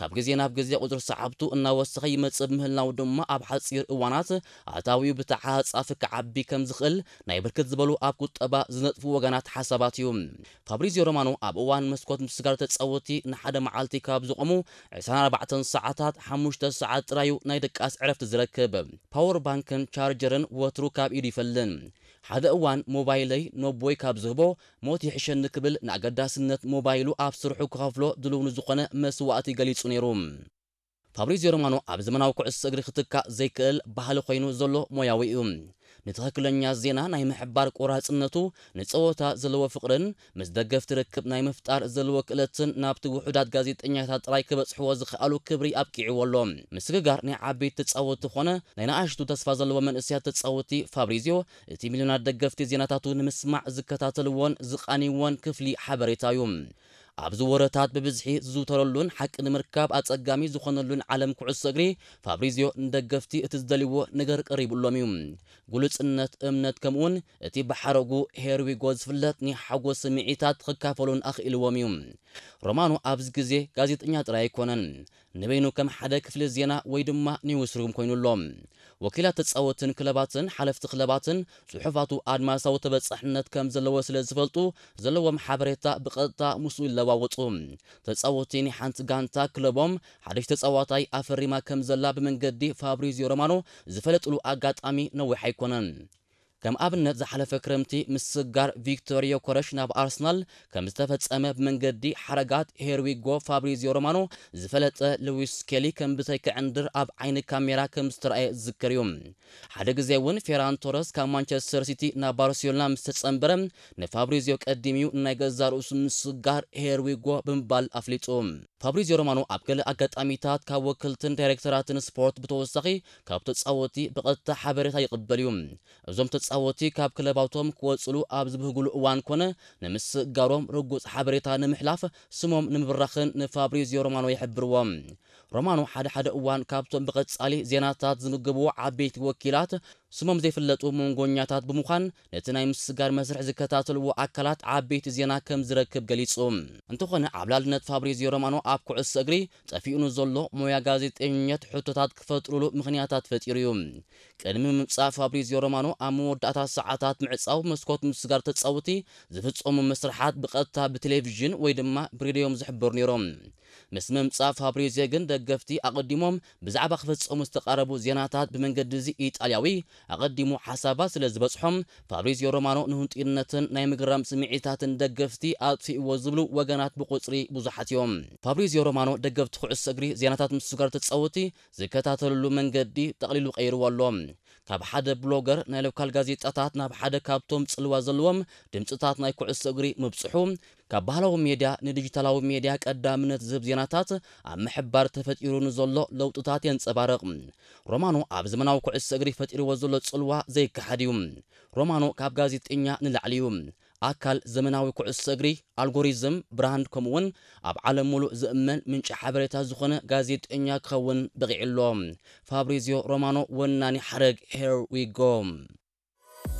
ካብ ግዜ ናብ ግዜ ቁጽሪ ሰዓብቱ እናወሰኸ ይመጽእ ብምህላው ድማ፣ ኣብ ሓጺር እዋናት ኣታዊኡ ብተዓጻፊ ክዓቢ ከም ዝኽእል ናይ ብርክት ዝበሉ ኣብ ቁጠባ ዝነጥፉ ወገናት ሓሳባት እዩ። ፋብሪዚዮ ሮማኖ ኣብ እዋን መስኮት ምስጋር ተጻወቲ ንሓደ መዓልቲ ካብ ዝቖሙ ዕስራን ኣርባዕተን ሰዓታት፣ ሓሙሽተ ሰዓት ጥራዩ ናይ ድቃስ ዕረፍቲ ዝረክብ። ፓወር ባንክን ቻርጀርን ወትሩ ካብ ኢዱ ይፈልን። ሓደ እዋን ሞባይለይ ነቦይ ካብ ዝህቦ ሞት ይሕሸኒ ክብል ንኣገዳስነት ሞባይሉ ኣብ ስርሑ ክኸፍሎ ድልው ንዝኾነ መስዋእቲ ገሊጹ ነይሩ። ፋብሪዚዮ ሮማኖ ኣብ ዘመናዊ ኩዕሶ እግሪ ክትካእ ዘይክእል ባህሊ ኮይኑ ዘሎ ሞያዊ እዩ። ንትኽክለኛ ዜና ናይ ምሕባር ቆራጽነቱ፣ ንጸወታ ዘለዎ ፍቕርን ምስ ደገፍቲ ርክብ ናይ ምፍጣር ዘለዎ ክእለትን ናብቲ ውሑዳት ጋዜጠኛታት ጥራይ ክበጽሕዎ ዝኸኣሉ ክብሪ ኣብቂዕዎ ኣሎ። ምስግጋር ናይ ዓበይቲ ተጻወትቲ ኾነ ናይ ንኣሽቱ ተስፋ ዘለዎ መንእሰያት ተጻወትቲ ፋብሪዚዮ፣ እቲ ሚልዮናት ደገፍቲ ዜናታቱ ንምስማዕ ዝከታተልዎን ዝቓንይዎን ክፍሊ ሓበሬታ እዩ። ኣብዚ ወረታት ብብዝሒ ዝዝውተረሉን ሓቂ ንምርካብ ኣጸጋሚ ዝኾነሉን ዓለም ኩዕሶ እግሪ፣ ፋብሪዚዮ ንደገፍቲ እቲ ዝደልይዎ ነገር ቀሪቡሎም እዩ። ግሉጽነት፣ እምነት፣ ከምኡውን እቲ ብሓረጉ ሄርዊጎ ዝፍለጥ ናይ ሓጎስ ስምዒታት ክካፈሉን ኣኽኢልዎም እዩ። ሮማኖ ኣብዚ ግዜ ጋዜጠኛ ጥራይ ኣይኮነን። ንበይኑ ከም ሓደ ክፍሊ ዜና ወይ ድማ ኒውስሩም ኮይኑ ኣሎ። ወኪላት ተጻወትን ክለባትን ሓለፍቲ ክለባትን ጽሑፋቱ ኣድማሳዊ ተበጻሕነት ከም ዘለዎ ስለ ዝፈልጡ፣ ዘለዎም ሓበሬታ ብቐጥታ ምስኡ ይለዋወጡ። ተጻወቲ ናይ ሓንቲ ጋንታ ክለቦም ሓድሽ ተጻዋታይ ኣፈሪማ ከም ዘላ ብመንገዲ ፋብሪዚዮ ሮማኖ ዝፈለጥሉ ኣጋጣሚ ነዊሕ ኣይኮነን። ከም ኣብነት፣ ዝሓለፈ ክረምቲ ምስጋር ቪክቶር ዮከረሽ ናብ ኣርሰናል ከም ዝተፈጸመ ብመንገዲ ሓረጋት ሄርዊጎ ፋብሪዚዮ ሮማኖ ዝፈለጠ ሉዊስ ስኬሊ ከም ብተኪ ዕንድር ኣብ ዓይኒ ካሜራ ከም ዝተረኣየ ዝዝከር እዩ። ሓደ ግዜ እውን ፌራን ቶረስ ካብ ማንቸስተር ሲቲ ናብ ባርሴሎና ምስ ተጸንበረ፣ ንፋብሪዚዮ ቀዲምዩ ናይ ገዛ ርእሱ ምስጋር ሄርዊጎ ብምባል ኣፍሊጡ። ፋብሪዚዮ ሮማኖ ኣብ ገለ ኣጋጣሚታት ካብ ወከልትን ዳይሬክተራትን ስፖርት ብተወሳኺ ካብ ተጻወቲ ብቐጥታ ሓበሬታ ይቕበል እዩ። እዞም ተጻወቲ ካብ ክለባቶም ክወጽሉ ኣብ ዝብህጉሉ እዋን ኮነ ንምስጋሮም ርጉጽ ሓበሬታ ንምሕላፍ ስሞም ንምብራኽን ንፋብሪዚዮ ሮማኖ ይሕብርዎ። ሮማኖ ሓደ ሓደ እዋን ካብቶም ብቐጻሊ ዜናታት ዝምግብዎ ዓበይቲ ወኪላት ስሞም ዘይፍለጡ መንጎኛታት ብምዃን፣ ነቲ ናይ ምስጋር መስርሕ ዝከታተልዎ ኣካላት ዓበይቲ ዜና ከም ዝረክብ ገሊጹ። እንተኾነ፣ ዓብላልነት ፋብሪዚዮ ሮማኖ ኣብ ኩዕሶ እግሪ ጠፊኡ ንዘሎ ሞያ ጋዜጠኝነት ሕቶታት ክፈጥሩሉ ምኽንያታት ፈጢሩ እዩ። ቅድሚ ምምጻእ ፋብሪዚዮ ሮማኖ፣ ኣብ መወዳእታ ሰዓታት ምዕጻው መስኮት ምስጋር ተጻወቲ ዝፍጸሙ መስርሓት ብቐጥታ ብቴሌቪዥን ወይ ድማ ብሬድዮም ዝሕበሩ ነይሮም። ምስ ምምጻእ ፋብሪዚዮ ግን፣ ደገፍቲ ኣቐዲሞም ብዛዕባ ክፍጸሙ ዝተቓረቡ ዜናታት ብመንገዲ እዚ ኢጣልያዊ ኣቐዲሙ ሓሳባት ስለ ዝበጽሖም፣ ፋብሪዚዮ ሮማኖ ንህንጡይነትን ናይ ምግራም ስምዒታትን ደገፍቲ ኣጥፊእዎ ዝብሉ ወገናት ብቑጽሪ ብዙሓት እዮም። ፋብሪዚዮ ሮማኖ ደገፍቲ ኩዕሶ እግሪ ዜናታት ምስጋር ተጻወቲ ዝከታተልሉ መንገዲ ጠቕሊሉ ቀይርዎ ኣሎ። ካብ ሓደ ብሎገር ናይ ሎካል ጋዜጣታት ናብ ሓደ ካብቶም ጽልዋ ዘለዎም ድምጽታት ናይ ኩዕሶ እግሪ ምብጽሑ፣ ካብ ባህላዊ ሜድያ ንዲጂታላዊ ሜድያ ቀዳምነት ዝህብ ዜናታት ኣብ ምሕባር ተፈጢሩ ንዘሎ ለውጥታት የንጸባርቕ። ሮማኖ ኣብ ዘመናዊ ኩዕሶ እግሪ ፈጢርዎ ዘሎ ጽልዋ ዘይከሓድ እዩ። ሮማኖ ካብ ጋዜጠኛ ንላዕሊ እዩ። ኣካል ዘመናዊ ኩዕሶ እግሪ፣ ኣልጎሪዝም፣ ብራንድ፣ ከምኡውን ኣብ ዓለም ሙሉእ ዝእመን ምንጪ ሓበሬታ ዝኾነ ጋዜጠኛ ክኸውን በቒዑ ኣሎ። ፋብሪዚዮ ሮማኖ፣ ወናኒ ሓረግ Here We Go።